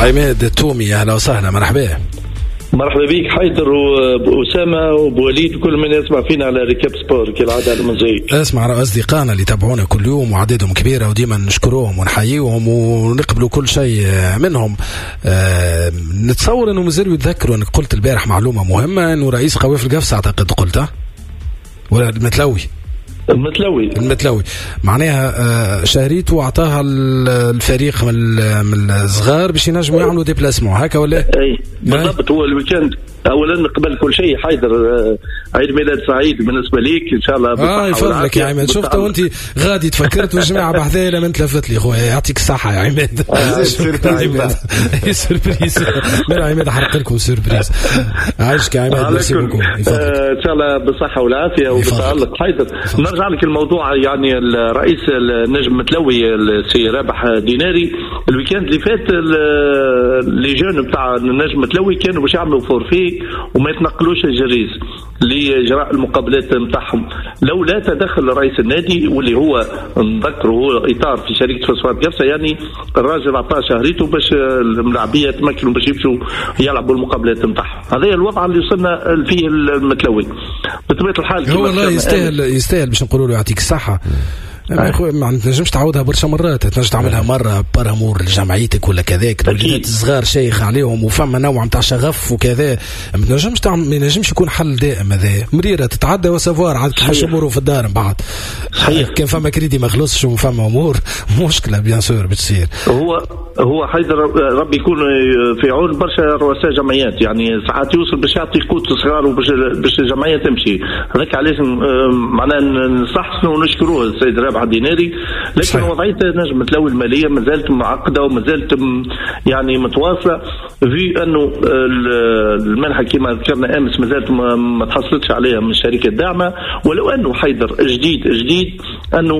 عماد التومي، اهلا وسهلا، مرحبا. مرحبا بك حيدر وأسامة وبوليد وكل من يسمع فينا على Récap Sport كالعادة على المزيك. اسمع، أصدقائنا اللي تابعونا كل يوم وعددهم كبيرة وديما نشكروهم ونحييهم ونقبلوا كل شيء منهم. نتصور انه مازالوا يتذكروا انك قلت البارح معلومة مهمة، انه رئيس قوافل قفصة اعتقد قلتها ولا المتلوي؟ المتلوي. المتلوي معناها شهريته واعطاها الفريق من الصغار باش ينجموا يعملوا déplacement هكا ولا؟ اي بالضبط. هو ال week-end اولا قبل كل شيء حيدر، عيد ميلاد سعيد بالنسبة ليك ان شاء الله. يفضلك يا عماد. شفت وانت غادي تفكرت والجماعة بحذايا لما تلفت لي خويا، يعطيك الصحة يا عماد. surprise من عماد، حرق لكم surprise. عايشك يا عماد، merci beaucoup. ان شاء الله بالصحة والعافية وبالتالق. حيدر نرجع لك الموضوع، يعني الرئيس النجم متلوي السي رابح ديناري ال week-end اللي فات les jeunes بتاع النجم متلوي كانوا باش يعملوا forfait وما يتنقلوش الجريز لاجراء المقابلات نتاعهم لولا تدخل رئيس النادي، واللي هو نذكره هو اطار في شركة فوسفات قفصه. يعني الراجل عطاه شهريته باش الملاعبيه يتمكنوا باش يمشوا يلعبوا المقابلات نتاعهم. هذا الوضع اللي وصلنا فيه المتلوي بطبيعة الحال. هو والله يستاهل باش نقولوا له يعطيك الصحة. يا خويا ما تنجمش تعاودها برشا مرات، تنجم تعملها مرة par amour لجمعيتك ولا كذاك، الوليدات الصغار شيخ عليهم وفما نوع نتاع شغف وكذا، ما تنجمش تعمل، ما ينجمش يكون حل دائم. هذا مريرة تتعدى و savoir عاد كيفاش اموره في الدار من بعد. صحيح كان فما كريدي ما خلصش وفما امور مشكلة bien sûr بتصير. هو حيدر ربي يكون في عون برشا رؤساء جمعيات، يعني ساعات يوصل باش يعطي قوت صغار وباش الجمعية تمشي. هذاك علاش معناها نصحسنوا ونشكروه السيد رابح ديناري. لكن وضعية نجم متلوي المالية ما زالت معقدة وما زالت يعني متواصلة، في انه المنحة كما ذكرنا امس ما زالت ما تحصلتش عليها من الشركة الداعمة. ولو انه حيدر جديد انه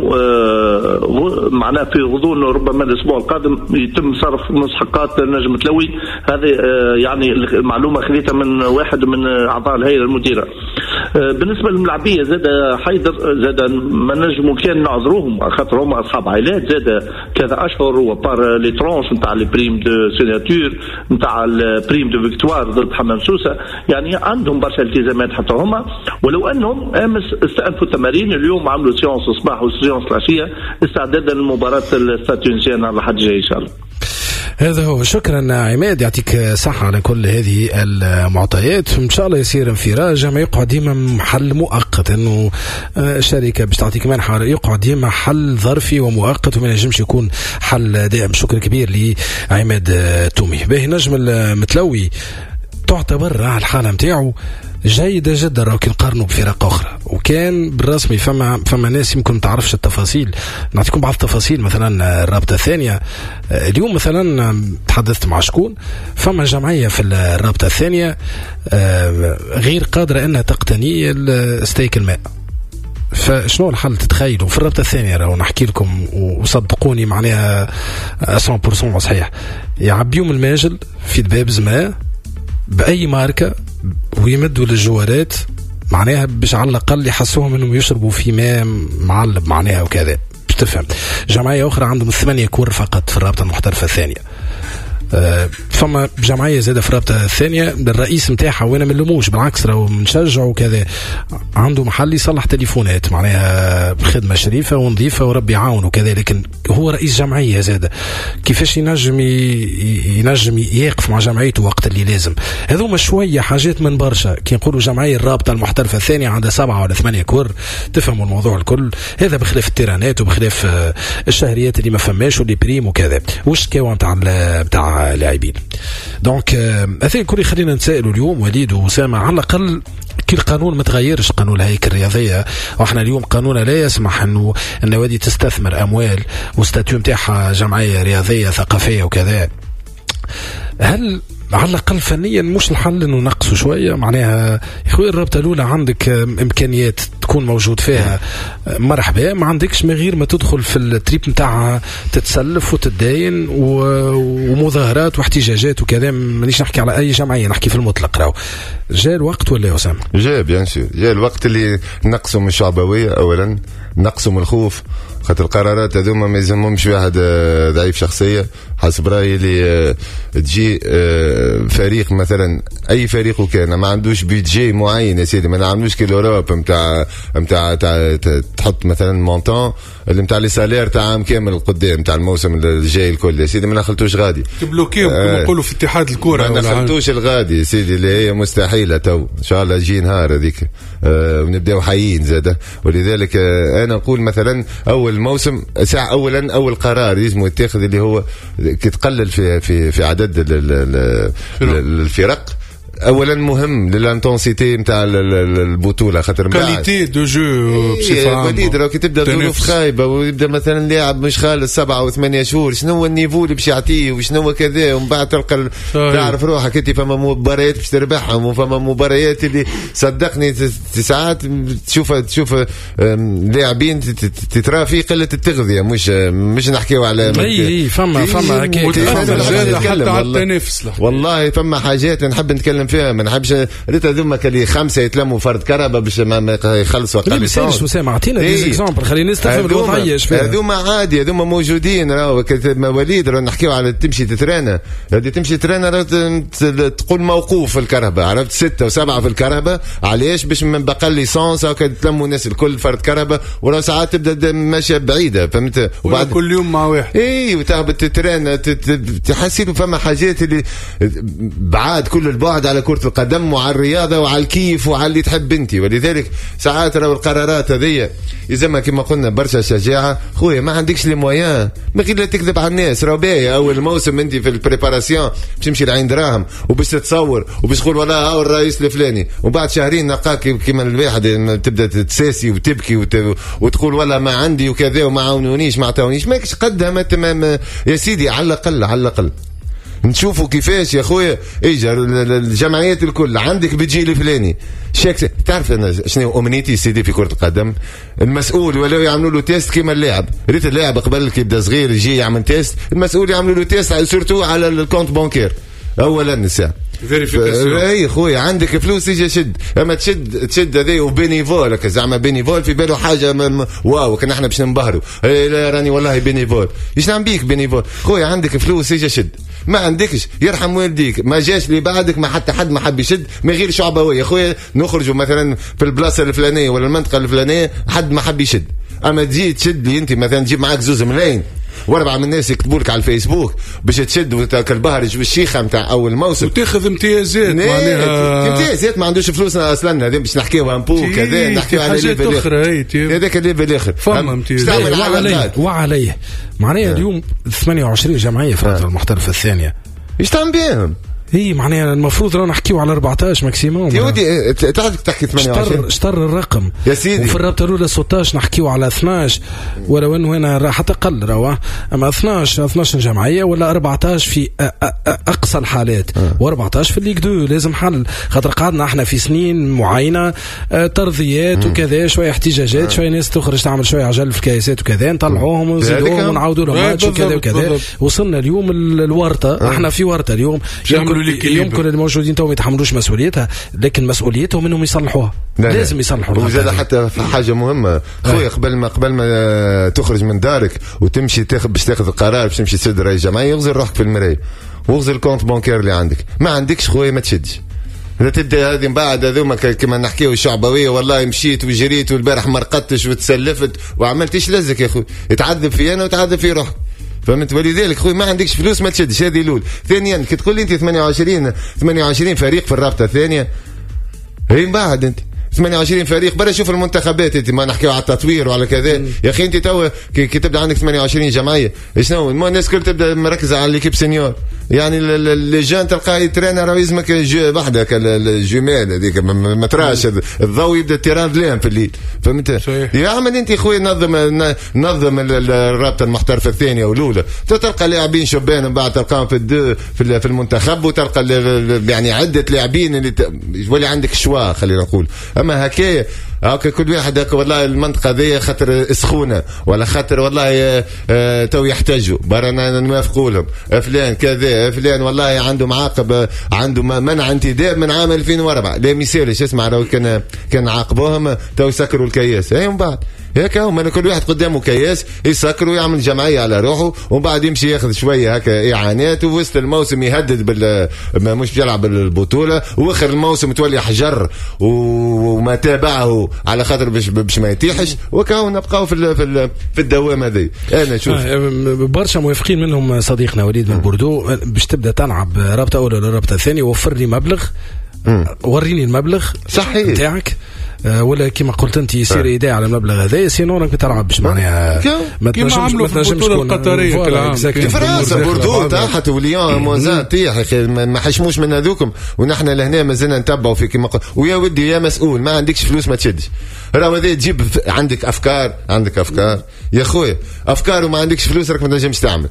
معناه في غضون ربما الاسبوع القادم يتم صرف مستحقات نجم متلوي. هذه يعني المعلومة خذيتها من واحد من اعضاء الهيئة المديرة. بالنسبة للملاعبيه زاد حيدر زاد ما نجموا كان نعذروهم خاطر هما اصحاب عائلات زاد كذا اشهر، و par les tranches نتاع les primes de signature نتاع ال prime de victoire ضد حمام سوسة، يعني عندهم برشا التزامات حتى هما. ولو انهم امس استأنفوا التمارين، اليوم عملوا séance الصباح و séance العشية استعدادا لمباراة ال Stade Tunisien على الحد الجاي ان شاء الله. هذا هو. شكرا عماد، يعطيك صحة على كل هذه المعطيات. ان شاء الله يصير انفراج، ما يقعد ديما حل مؤقت، انه شركة باش تعطيك منحة يقعد ديما حل ظرفي ومؤقت وما ينجمش يكون حل دائم. شكر كبير لعماد تومي. باهي، نجم المتلوي تعتبر على الحالة نتاعو جيدة جدا راهو كي نقارنوا بفرق أخرى، وكان بالرسمي فما ناس يمكن ما تعرفش التفاصيل. نعطيكم بعض التفاصيل. مثلا الرابطة الثانية اليوم مثلا تحدثت مع شكون، فما جمعية في الرابطة الثانية غير قادرة أنها تقتني ستيك الماء. فشنو الحل تتخيلوا في الرابطة الثانية؟ راهو نحكي لكم وصدقوني معناها 100% صحيح. يعبيهم الماجل في دباب زماء بأي ماركة ويمدوا للجوارات معناها باش على الأقل يحسوهم انهم يشربوا في ماء معلب معناها وكذا باش تفهم. جمعية أخرى عندهم 8 كور فقط في الرابطة المحترفة الثانية. فما جمعية زادة في الرابطة الثانية الرئيس نتاعها وانا ما نلوموش بالعكس راهو نشجعه وكذا، عنده محل يصلح تليفونات معناها بخدمة شريفة ونظيفة وربي يعاونه وكذا، لكن هو رئيس جمعية زادة كيفاش ينجم يقف مع جمعيته وقت اللي لازم. هذوما شوية حاجات من برشا. كي نقولوا جمعية الرابطة المحترفة الثانية عندها 7 ولا 8 كور تفهموا الموضوع الكل. هذا بخلاف التيرانات وبخلاف الشهريات اللي ما فماش و les primes وكذا والشكاوى نتاع لاعبين. donc هذا الكل يخلينا نتسائلوا اليوم وليد وأسامة، على الأقل كي القانون ما تغيرش، قانون الهيكل الرياضية، واحنا اليوم قانوننا لا يسمح انه النوادي تستثمر اموال و statut نتاعها جمعية رياضية ثقافية وكذا. هل على الأقل فنيا مش الحل انه نقصوا شوية؟ معناها يا خويا الرابطة الاولى عندك امكانيات تكون موجود فيها مرحبا، ما عندكش من غير ما تدخل في ال trip نتاعها تتسلف وتتداين ومظاهرات واحتجاجات وكذا. مانيش نحكي على اي جمعية، نحكي في المطلق. راهو جاء الوقت ولا يا اسامة؟ جاء bien sûr، جاء الوقت اللي نقصوا من الشعبوية اولا، نقصوا من الخوف، خاطر القرارات هذوما ما يلزمهمش واحد ضعيف شخصية. حسب رايي اللي تجي فريق مثلا اي فريق وكان ما عندوش budget معين يا سيدي، ما نعملوش كي l'Europe نتاع تحط مثلا montant اللي نتاع les salaires تاع عام كامل قدام تاع الموسم الجاي الكل يا سيدي، ما نخلطوش غادي تبلوكيهم كما نقولوا في اتحاد الكره، ما نخلطوش الغادي يا سيدي اللي هي مستحيلة. تو ان شاء الله يجي نهار هذيك ونبداو حيين زاده. ولذلك انا نقول مثلا اول موسم ساعة اولا اول قرار لازم يتاخذ اللي هو كي تقلل في في في عدد الفرق اولا مهم لل intensité نتاع البطولة، خاطر qualité de jeu بصفة عامة. وليد راه كي تبدا ظروف خايبة ويبدا مثلا لاعب مش خالص 7 و8 شهور، شنو هو ال niveau اللي باش يعطيه وشنو هو كذا، ومن بعد تلقى تعرف روحك انت فما مباريات باش تربحهم وفما مباريات اللي صدقني ساعات تشوف لاعبين تترى في قلة التغذية، مش نحكيو على اي فما هكاك حتى على التنافس. والله فما حاجات نحب نتكلم فيها، ما نحبش ريت هذوما كلي 5 يتلموا فرد كهرباء باش ما يخلصوا اقل. اسامة اعطينا des exemples خلينا نستفهم الوضعية. هذوما عادي، هذوما موجودين راهو مواليد، راهو نحكيو على تمشي تترانا، هذه تمشي ترانا تقول موقوف في الكهرباء، عرفت 6 و7 في الكهرباء، علاش؟ باش من بقى l'essence هكا تلموا الناس الكل فرد كهرباء، وراه ساعات تبدا ماشية بعيدة، فهمت؟ وبعد كل يوم مع واحد اي وتهبط تترانا تحسي فما حاجات اللي بعاد كل البعد على كرة القدم وعلى الرياضة وعلى الكيف وعلى اللي تحب انت. ولذلك ساعات راهو القرارات هذيا يلزمها كما قلنا برشا شجاعة. خويا ما عندكش les moyens، ما غير لا تكذب على الناس. راهو باهي اول موسم انت في ال préparation باش تمشي لعين دراهم وباش تتصور وباش تقول والله هاو الرئيس الفلاني، وبعد شهرين نلقاك كيما الواحد تبدا تساسي وتبكي وتقول والله ما عندي وكذا وما عاونونيش ما عطاونيش، ماكش قدها. يا سيدي على الاقل على الاقل نشوفوا كيفاش يا خويا. اجا الجمعيات الكل عندك budget الفلاني شيك. تعرف انا شنو امنيتي سيدي في كره القدم؟ المسؤول ولاو يعملوا له test كيما اللاعب. ريت اللاعب قبل كي يبدا صغير يجي يعمل test، المسؤول يعملوا له test surtout على ال compte bancaire اولا الساعة vérification. اي خويا عندك فلوس يجي شد، اما تشد هذا و bénévole زعما bénévole في باله حاجة واو كان احنا باش ننبهروا، لا راني والله bénévole. ايش نعمل بيك bénévole؟ خويا عندك فلوس يجي شد، ما عندكش يرحم والديك، ما جاش اللي بعدك، ما حتى حد ما حب يشد من غير شعبويه. خويا نخرجوا مثلا في البلاصة الفلانية ولا المنطقة الفلانية حد ما حب يشد، اما تجي تشد لي انت مثلا تجيب معاك 2 ملايين و4 من الناس يكتبوا لك على الفيسبوك باش تشد وتاكل بهرج بالشيخه نتاع اول موسم وتاخذ امتيازات، معناها امتيازات ما عندوش فلوس اصلا. هذا باش نحكيو un peu كذا، نحكيو على level اخر، هذاك ال level الاخر فما امتيازات وعليه معناها. اليوم 28 جمعية في الرابطة المحترفه الثانية، ايش تعمل بهم؟ هي معناها المفروض رانا نحكيو على 14 maximum. يا ودي تعرف تحكي 28 شطر الرقم يا سيدي، وفي الرابطة الاولى 16 نحكيو على 12، ولو انه هنا راح تقل راه، اما 12 جمعية ولا 14 في اقصى الحالات، و14 في ال Ligue 2. لازم حل، خاطر قعدنا احنا في سنين معينة ترضيات وكذا، شوية احتجاجات، شوية ناس تخرج تعمل شوية عجل في الكياسات وكذا، نطلعوهم ونزيدوهم ونعاودوا لهم ماتش وكذا وكذا. وصلنا اليوم الورطة، احنا في ورطة اليوم. يمكن الموجودين تو ما يتحملوش مسؤوليتها، لكن مسؤوليتهم انهم يصلحوها. لازم يصلحوها. وزاد حتى في حاجة مهمة خويا، قبل ما تخرج من دارك وتمشي باش تاخذ القرار باش تمشي تسد رئيس جمعية، يغزر روحك في المراية واغزر ال compte bancaire اللي عندك. ما عندكش خويا ما تشدش. لا تبدا هذه من بعد هذوما كما نحكيو الشعبوية، والله مشيت وجريت والبارح ما رقدتش وتسلفت وعملت. ايش لزك يا خويا؟ تعذب في انا وتعذب في روحك، فهمت؟ ولذلك خويا ما عندكش فلوس ما تشدش. هذه الاول. ثانيا كي تقول لي انت 28 فريق في الرابطة الثانية، هي من بعد انت 28 فريق برا شوف المنتخبات. انت ما نحكيو على التطوير وعلى كذا يا اخي. انت تو كي تبدا عندك 28 جمعية، شنو الناس الكل تبدا مركزه على l'équipe senior، يعني les jeunes تلقاه يترينا راه يلزمك وحدك ال jumelles هذيك ما تراش الضوء يبدا terrain ظلام في الليل، فهمت؟ يا عمل انت خويا نظم الرابطة المحترفه الثانية والاولى، تلقى لاعبين شبان من بعد تلقاهم في في المنتخب، وتلقى يعني عده لاعبين اللي يولي عندك choix خلينا نقول. اما هكايا هاكا كل واحد هكا والله المنطقة ذي خاطر سخونة ولا خاطر والله تو يحتاجوا برا نوافقوا لهم فلان كذا فلان والله عنده معاقب عنده منع انتداب من عام 2004 لا مثالش اسمع لو كان عاقبوهم تو يسكروا الكياس. اي من بعد هيك هم كل واحد قدامه كياس يسكر ويعمل جمعية على روحه، ومن بعد يمشي ياخذ شوية هكا اعانات، ووسط الموسم يهدد ما مش بيلعب البطوله، واخر الموسم تولي حجر وما تابعه على خاطر باش ما يتيحش، وكاو نبقاو في الدوامة هذه. انا شوف برشا موافقين منهم صديقنا وليد من بوردو، باش تبدا تلعب رابطه اولى ولا رابطه ثانية وفر لي مبلغ، وريني المبلغ صحيح نتاعك، ولا كما قلت انت يصير ايداع على المبلغ هذا، sinon راك ما تلعبش معناها. ما تنجمش، ما تنجمش القطرية. في فرنسا بوردو طاحت وليون moins un طيح، يا اخي ما حشموش من هذوكم، ونحن لهنا مازلنا نتبعوا في كما ويا ودي يا مسؤول ما عندكش فلوس ما تشدش. راهو هذا تجيب عندك افكار، عندك افكار يا خويا، افكار وما عندكش فلوس راك ما تنجمش تعمل.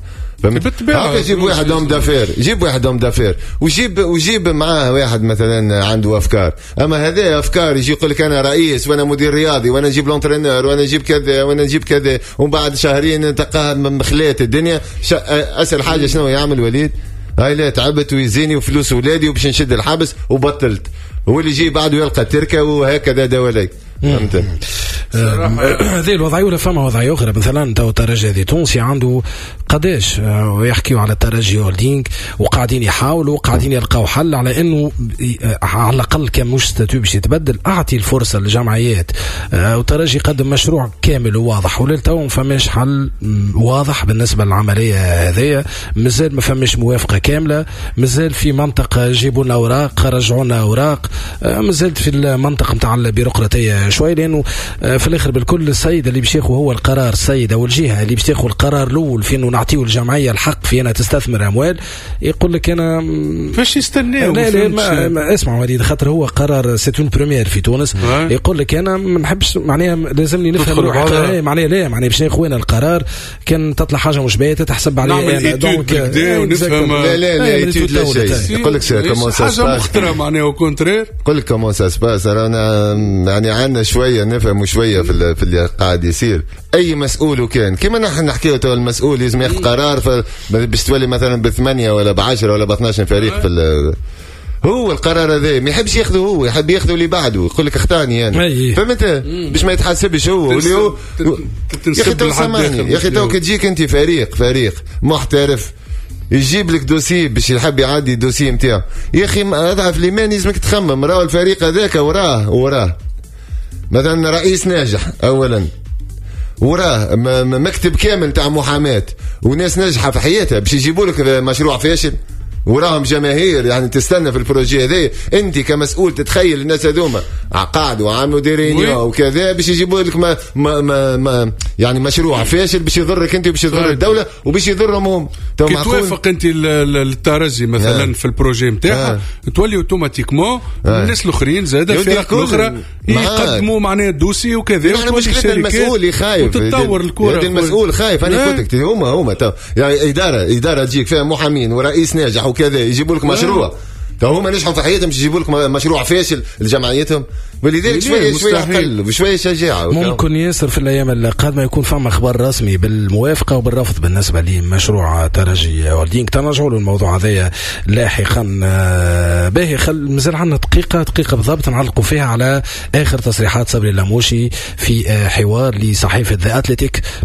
هكا جيب واحد homme d'affaires، جيب واحد homme d'affaires وجيب معاه واحد مثلا عنده افكار. اما هذا افكار يجي يقول لك انا رئيس وانا مدير رياضي وانا نجيب l'entraîneur وانا نجيب كذا وانا نجيب كذا، ومن بعد شهرين تلقاها مخلات الدنيا. اسهل حاجة شنو يعمل وليد؟ هاي لا تعبت ويزيني وفلوس ولادي وباش نشد الحبس وبطلت، هو اللي يجي بعده يلقى تركه وهكذا دواليك. فهمت؟ هذه الوضعية. ولا فما وضعية اخرى مثلا تو الترجي هذه تونسي عنده قداش ويحكيوا على الترجي هولدينغ وقاعدين يحاولوا وقاعدين يلقاو حل على انه على الاقل كان مش statut باش يتبدل، اعطي الفرصة للجمعيات. والترجي قدم مشروع كامل وواضح، وللتو ما فماش حل واضح بالنسبة للعملية هذيا، مازال ما فماش موافقة كاملة، مازال في منطقة جيبوا لنا اوراق، رجعوا لنا اوراق، مازالت في المنطقة نتاع البيروقراطية شوي، لانه في الاخر بالكل السيد اللي باش ياخذ هو القرار، السيد او الجهة اللي باش تاخذ القرار الاول في انه نعطيه الجمعية الحق في انها تستثمر اموال، يقول لك انا فاش يستناو؟ لا لا ما اسمع وليد، خاطر هو قرار c'est une première في تونس، يقول لك انا ما نحبش معناها لازمني نفهم روحي معناها لا معناها باش ناخذ انا القرار، كان تطلع حاجة مش باهيه تتحسب علي انا، donc لا لا لا étude لا شيء. يقول لك comment ça حاجة مخطره معناها au contraire، يقول لك comment ça se passe. رانا يعني عندنا شوية نفهم شوية في اللي قاعد يصير. اي مسؤول وكان كما نحن نحكيو تو المسؤول لازم ياخذ قرار باش تولي مثلا ب8 ولا ب10 ولا ب12 فريق في هو القرار هذا ما يحبش ياخذه هو، يحب ياخذه اللي بعده، يقول لك اختاني انا، فهمت؟ باش ما يتحاسبش هو واللي هو يا اخي تو سامحني يا اخي تو كي تجيك انت فريق محترف يجيب لك dossier باش يحب يعدي ال dossier نتاعو، يا اخي اضعف الايمان لازمك تخمم، راهو الفريق هذاك وراه مثلا رئيس ناجح اولا، وراه مكتب كامل تاع محاماة وناس ناجحة في حياتها باش يجيبوا لك مشروع فاشل، وراهم جماهير يعني تستنى في ال projet هذا. انت كمسؤول تتخيل الناس هذوما قعدوا وعملوا des réunions وكذا باش يجيبوا لك ما ما ما, ما يعني مشروع فاشل باش يضرك انت وباش يضر الدولة وباش يضرهم هم. كي توافق انت الترجي مثلا في ال projet نتاعها تولي automatiquement الناس الاخرين زاد الفرق الاخرى يقدموا معناها dossier وكذا. نحن مشكلة المسؤول خايف وتتطور الكره، المسؤول خايف. انا قلت لك هما يعني ادارة تجيك فيها محامين ورئيس ناجح وكذا يجيبوا لك مشروع، هما نجحوا في حياتهم يجيبوا لك مشروع فاشل لجمعيتهم، ولذلك شوية شوية اقل وشوية شجاعة. ممكن ياسر في الايام القادمة يكون فما اخبار رسمي بالموافقة وبالرفض بالنسبة لمشروع ترجي هولدينغ، تنرجعوا للموضوع هذايا لاحقا. باهي مازال عندنا دقيقة بالضبط نعلقوا فيها على اخر تصريحات صبري اللاموشي في حوار لصحيفة ذا اتلتيك.